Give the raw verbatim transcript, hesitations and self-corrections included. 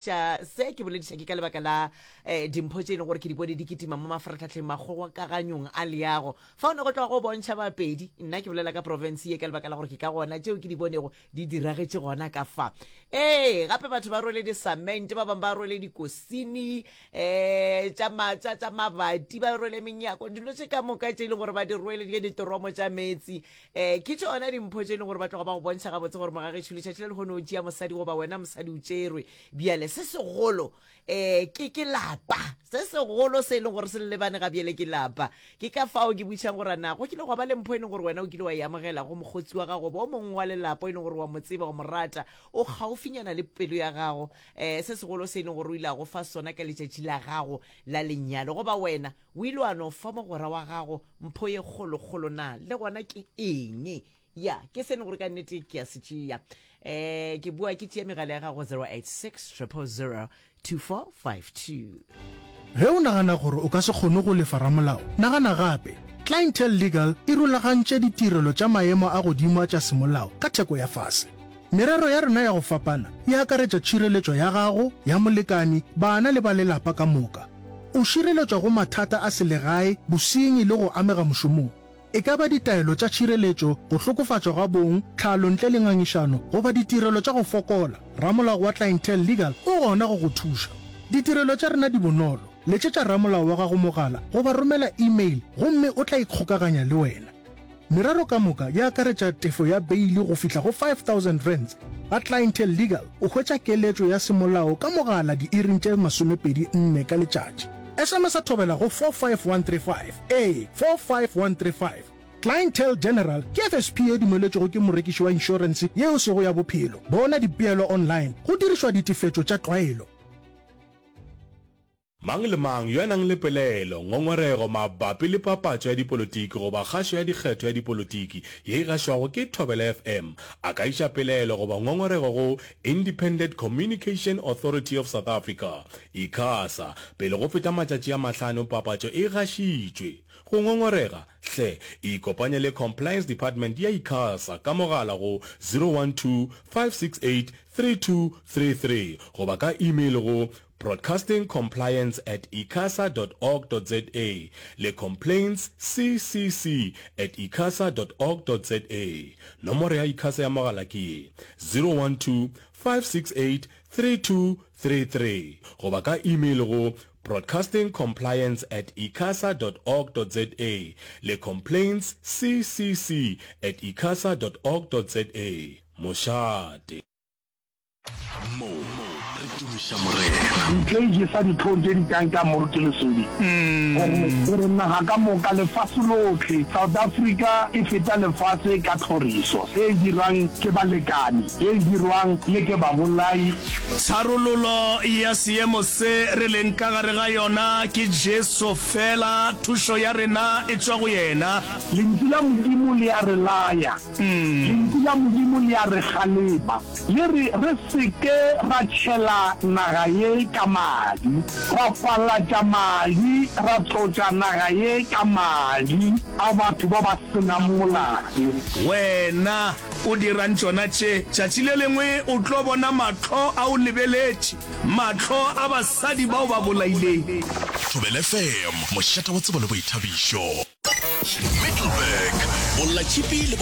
Se ke bolediša ke ka lebaka la um dimpho tše e leng gore ke di bone di kitima mo mafaratlhatlheng makgokaganyong a leago. Fa o ne go tloga go bontšha Bapedi, nna ke bolela ka profense ye ka lebaka la gore ke ka gona tšeo ke di bonego di diragetše gona ka fa. Ee, gape batho ba rwele disamente, ba bangwe ba rwele dikosini um tša ma, tša, tša mabati, ba rwele menyako, dilo tše ka moka tše e leng gore ba di rwele di ditoromo tša meetse. Um ke tšona dimpho tše e leng gore ba tloga ba go bontšha gabotse gore mogagešo letšatši la lehono o tšea mosadi goba wena mosadi o tšerwe. Bjale se segolo um ke ke lapa, se segolo se e leng gore se le lebane ga bjale ke lapa. Ke ka fao ke botšišang gore na go kile gwa ba le mpho e leng gore wena o kile wa e amogela go mokgotsi wa gago goba o mongwe wa lelapa e leng gore wa mo tseba, wa mo rata, o kgaufinyana le pelo ya gago, um se segolo se e leng gore o ile a go fa sona ka letšatši la gago la lenyalo, goba wena o ile wa no fa mogwera wa gago mpho ye kgolokgolo, na le gona ke eng? Ya, ke se e leng gore ka nnete ke a se tšea. Um ke bua ke tšea megala ya gago zero eight six triple zero two four five two. Ge o nagana gore o ka se kgone go lefa ramolao, nagana gape. Clientele Legal e rulagantše ditirelo tša maemo a godimo a tša semolao ka theko ya fase. Merero ya rena ya go fapana e akaretša tšhireletšo ya gago, ya molekani, bana le ba lelapa ka moka. O šireletšwa go mathata a selegae, bosenyi le go amega mošomong. E ka ba ditaelo tša tšhireletšo, go hlokofatšwa ga bong, tlhalo ntle le ngangišano, goba ditirelo tša go fokola, ramolao wa Clientele Legal o gona go go thuša. Ditirelo tša rena di bonolo, letšetša ramolao wa gago mogala goba romela email gomme o tla ikgokaganya le wena. Merero ka moka e akaretša tefo ya beili go fihla go five thousand rands. Ga Clientele Legal o hwetša keletšo ya semolao ka mogala diiring tše masomepedi nne ka letšatši. S M S a thobela go four five one three five, ee, four five one three five. Clientele General ke F S P ye dumeletšwego ke morekiši wa inšorense ye e sego ya bophelo. Bona dipeelo online go dirišwa ditefetšo tša tlwaelo. Mang le mang yo a nang le pelaelo, ngongorego mabapi le papatšo ya dipolotiki goba kgašo ya dikgetho ya dipolotiki ye e gašwago ke Thobela F M a ka iša pelaelo goba ngongorego go Independent Communication Authority of South Africa, ICASA, pele go feta matšatši a mahlano papatšo e gašitšwe. Go ngongorega, hle ikopanye le Compliance Department ya ICASA ka mogala go zero one two, five six eight, three two three three goba ka email go broadcastingcompliance at icasa dot org dot za le complaintsccc at icasa dot org dot za. Nomoro ya ICASA ya mogala ke ye, zero one two, five six eight, three two three three goba ka email go broadcastingcompliance at icasa dot org dot za le complaintsccc at icasa dot org dot za. Mošate. Mo re tumiša Morena. Ntle e jesa dihlong tše di kang tša Moruti Lesodi gore gore naga ka moka, lefase lohle, South Africa e feta lefase ka tlhoriso e dirwang ke balekani, e dirwang le ke babolai. Tharololo ya seemo se re leng ka gare ga yona ke Jesu fela, thušo ya rena e tšwa go yena. Lentšu la Modimo le a re laya. Lentšu la Modimo le a re kgalema, le re re se ke ra tšhela naga ye ka madi, ra falatša madi, ra tlotša naga ye ka madi a batho ba ba se nang molato. Wena o dirang tšona tše? Tšatši le lengwe o tlo bona mahlo a o lebeletše, mahlo a basadi ba o ba bolaileng. Thobela F M, mošate wa tsebo le boithabišo. Middelburg, Bollatšhipi le